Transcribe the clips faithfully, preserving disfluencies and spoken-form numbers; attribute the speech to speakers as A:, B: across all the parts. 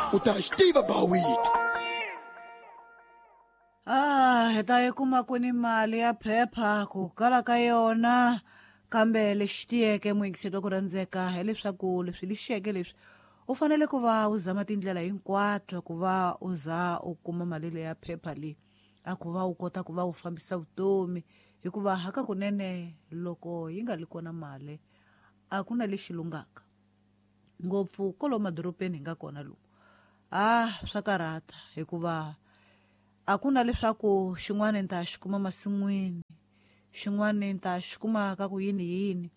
A: U ta xi tiva bawito.
B: Ah, hi ta yi kuma kwini mali ya phepha ku kala ka yona, kambe lexi tiyeke muyingiseri wa ku rhandzeka hileswaku leswi lixeke leswi u fanele ku va u zama tindlela hinkwato ku va u za u kuma mali leya phepha leyi, a ku va u kota ku va u fambisa vutomi, hikuva hakakunene loko yi nga li kona mali a ku na lexi lunghaka ngopfu kwalomu madorobeni hi nga kona lomu. Ah, swa karhata hikuva a ku na leswaku xin'wana ni ta xi kuma masin'wini, xin'wana ni ta xi kuma ka ku yini yini.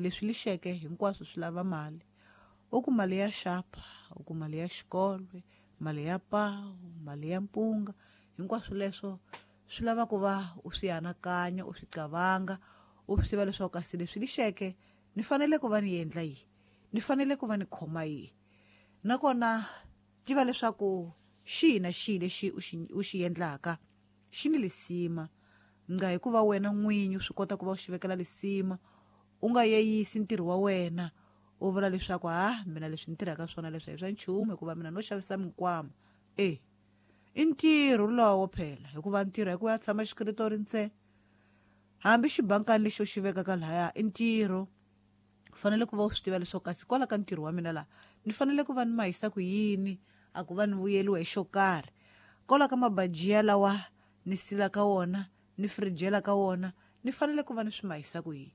B: Leswi lixeke hinkwaswo swi lava mali. U ku mali ya xapa, u ku mali ya xikolo, mali ya pawu, mali ya mpunga, hinkwaswo leswo swi lava ku va u swi anakanya, u swi qavanga, u swi tiva leswaku kasi leswi lixeke ni fanele ku va ni endla yini, ni fanele ku va ni khoma yini. Nakona tiva leswaku xihi na xihi lexi u xi, u xi endlaka xi ni lisima, nga hikuva wena n'winyi u swi kota ku va u xi vekela lisima, u nga yeyisi ntirho wa wena u vula leswaku ha mina leswi ni tirhaka swona leswi a hi swa nchumu hikuva mina no xavisa minkwama. E i ntirho lowo phela, hikuva ntirho hi ku ya tshama xikritori ntsena, hambi xibankani lexi u xi vekaka lahaya i ntirho. U fanele ku va u swi tiva leswaku kasi kwala ka ntirho wa mina laha ni fanele ku va ni mahisa ku yini, a ku va ni vuyeliwa hi xo karhi. Kwala ka mabajiya lawa ni silaka wona, ni firijela ka wona, ni fanele ku va ni swi mahisa ku yini.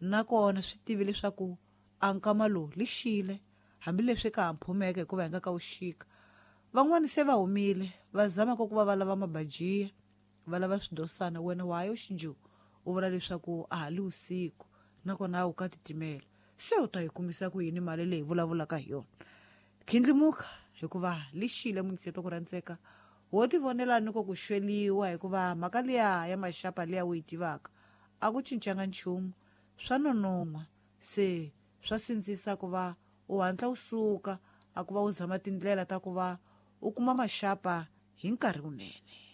B: Nakona swi tivi leswaku a nkama lowu lixile, hambileswi ka ha mphumeke hikuva hi nga ka wu xika. Van'wani se va humile va zama ku va va lava mabajiya, va lava swidosana, wena wa ha yo xinju u vula leswaku a ha li vusiku, nakona u ka titimela. Se u ta yi kumisa ku yini mali leyi vulavulaka hi yona? Khindlimuka hikuva lixile muyingiseri wa ku rhandzeka, wo tivonela ni ko ku xweliwa hikuva mhaka liya ya maxapa liya u yi tivaka a ku cincanga nchumu, swa nonon'hwa. Se swa sindzisa ku va u hatla u suka, a ku va u zama tindlela ta ku va u kuma maxapa hi nkarhi wunene.